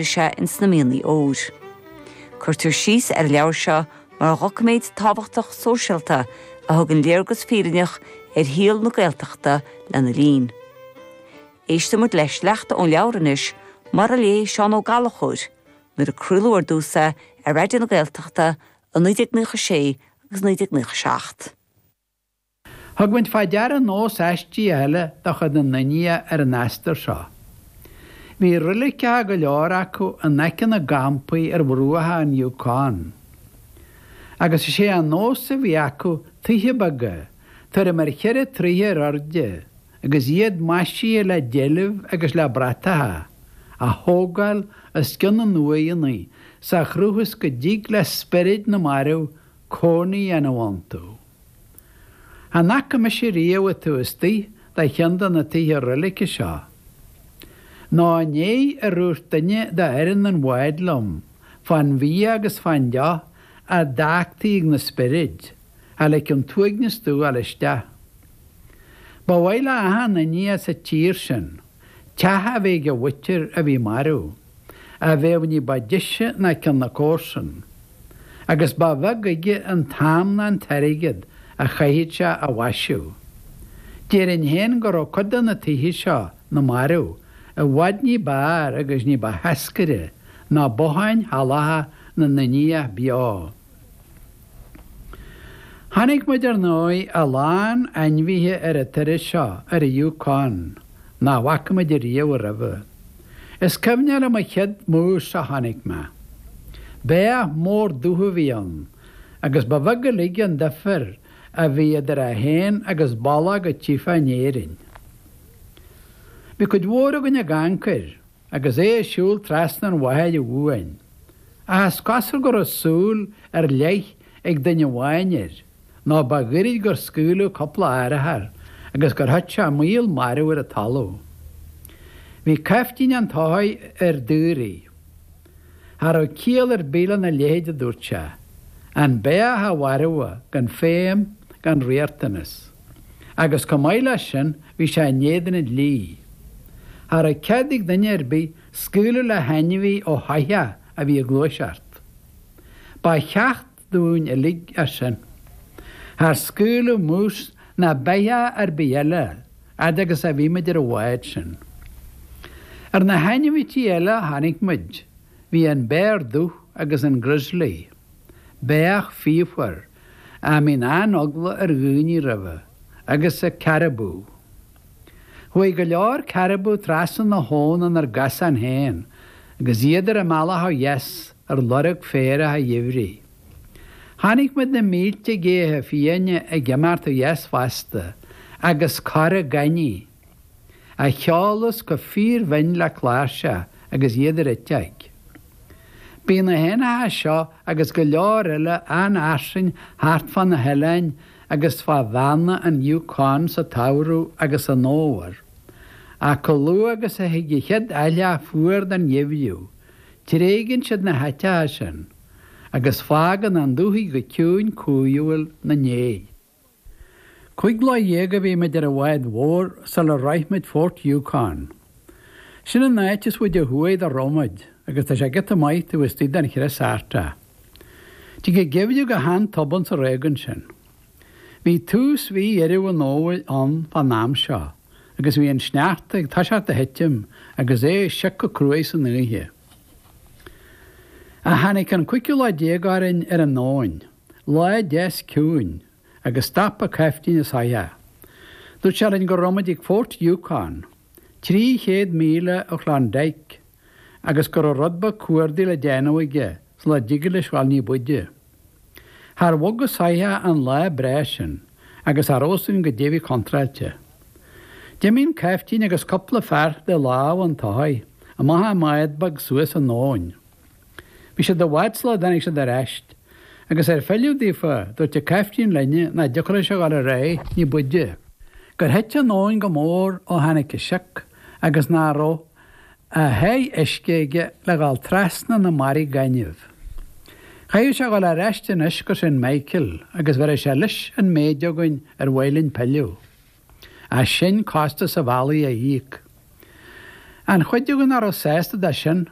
Sé ins na mianaigh óir. Cuirtear síos ar an leabhar seo mar dhoiciméad tábhachtach sóisialta a thugann léargas fírinneach ar shaol na Gaeltachta lena linn. Éistfidh muid le sleachta ón leabhar anois mar a léigh Seán Ó Gallchóir nuair a craoladh ar dtús é ar Raidió na Gaeltachta i 1996 agus 1997. Thug muid fá deara nós aistigh eile de chuid na nIndiach ar an astar seo. Bhí roiliceacha go leor acu in aice na gcampaí ar bhruacha an Yukon. Agus is é an nós a bhí acu tithe beaga, tuairim ar cheithre troighe ar airde, agus iad maisithe le deilbh agus le bratacha, a thógáil os cionn na n-uaigheanna sa chruth is go dtig le spioraid na marbh cónaí a dhéanamh iontu. Chan fhaca mise riamh taobh istigh de cheann de na tithe roilice seo. Nó i ndiaidh ar dhúirt duine de fhoireann an bháid liom fán bhia agus fán deoch a d'fhágtaí ag na spioraid, cha ligfeadh an t-uaigneas domh a dhul isteach. Ba mhaith le achan Indiach sa tír sin teach a bheith ag a mhuintir a bhí marbh, a bheadh ní ba deise ná ceann na comharsan. Agus ba bheag aige an t-am ná an t-airgead a chaithfeadh sé á mhaisiú. Déarfainn féin go raibh cuid de na tithe seo na marbh i bhfad ní b'fhearr agus ní ba tháscaire ná botháin shalacha na nIndiach beo. Chonaic muid ar ndóigh a lán ainmhithe ar an turas seo ar an Yukon nach bhfaca muid ariamh roimhe. Is cuimhneach liom an chéad mús a chonaic mé. Beach mór dubh a bhí ann agus ba bheag uilig an difear a bhí idir é féin agus ballach a tchífeá in Éirinn. Bhí cuid mhór againn ag amharc air agus é ag siúl trasna an bhóthair uainn. Ach is cosúil go raibh súil ar leith ag duine amháin air, nó ba ghoirid gur scaoileadh cúpla arachar agus gur thit sé maol marbh ar an talamh. Bhí caiftín an tsoithigh ar daoraí. Cha raibh ciall ar bith lena leithéid a dúirt sé. An beach a mharbhadh gan feidhm gan riachtanas. Agus chomh maith leis sin bhí sé in éadan an dlí. Cha raibh cead ag duine ar bith scaoileadh le hainmhí ó shoitheach a bhí ag gluaiseacht. Ba cheacht dúinn uilig é sin. Char scaoileadh mús ná beithíoch ar bith eile fhad agus a bhí muid ar an bhád sin. Ar na hainmhití eile a chonaic muid bhí an béar dubh agus an grizzly, beach fíochmhar a mbíonn an-eagla ar dhaoine roimhe, agus an carabú. Chuaigh go leor carabú trasna na habhann inár gcosán féin agus iad ar a mbealach ó dheas ar lorg féarach an gheimhridh. Chonaic muid na mílte géithe fiáine ag imeacht ó dheas fosta agus corra gainní, a cheolas go fíorbhinn le cláirseach agus iad ar eitilt. Bíonn na héanacha seo agus go leor eile an-fhairsing thart fá na hoileáin agus fá bheanna an Yukon sa tsamhradh agus san fhómhar. Ach chomh luath agus a thig an chéad fhaithleach fuar den gheimhreadh, tréigeann siad na háiteacha sin, agus fágann an dúthaigh go ciúin cumhúil 'na ndiaidh. 15 lá a bhí muid ar an bhád mhór sular shroich muid Fort Yukon. Sin an áit is faide thuaidh dá raibh muid, agus tá sé giota maith taobh istigh den chrios Artach. Tig an geimhreadh go han-tobann sa réigiún sin. Bhí tús mhí Dheireadh an Fhómhair ann fán am seo agus bhí an sneachta ag toiseacht a thitim agus é ag siocadh cruaidh san oíche. Ach tháinig an cúigiú lá orainn ar an abhainn, lá deas ciúin, agus stop an caiftín an soitheach. Dúirt sé linn go raibh muid ag Fort Yukon, 300 míle ó Klondike, agus go raibh rud beag cuardaigh le déanamh aige sula dtigeadh leis dhul ní b'fhaide. Char bhog an soitheach an lá breá sin agus cha raibh fhios againn goidé a bhí contráilte. D'imigh an caiftín agus cúpla fear de lámh an tsoithigh amach i mbád beag suas an abhainn. Bhí siad i bhfad sula dtáinig siad ar ais agus ar filleadh daofa dúirt an caiftín linne nach dtiocfadh leis a dhul ar aghaidh ní b'fhaide, gur thit an abhainn go mór ó tháinig an sioc agus nach raibh a sháith uisce aige le dhul trasna na mbarraí gainimh. Chaithfeadh sé dhul ar ais anois go Saint Michael agus bhéarfadh sé leis an méid againn ar mhaith linn pilleadh. As sin costas an bhealaigh a íoc. An chuid againn nach raibh sásta de sin.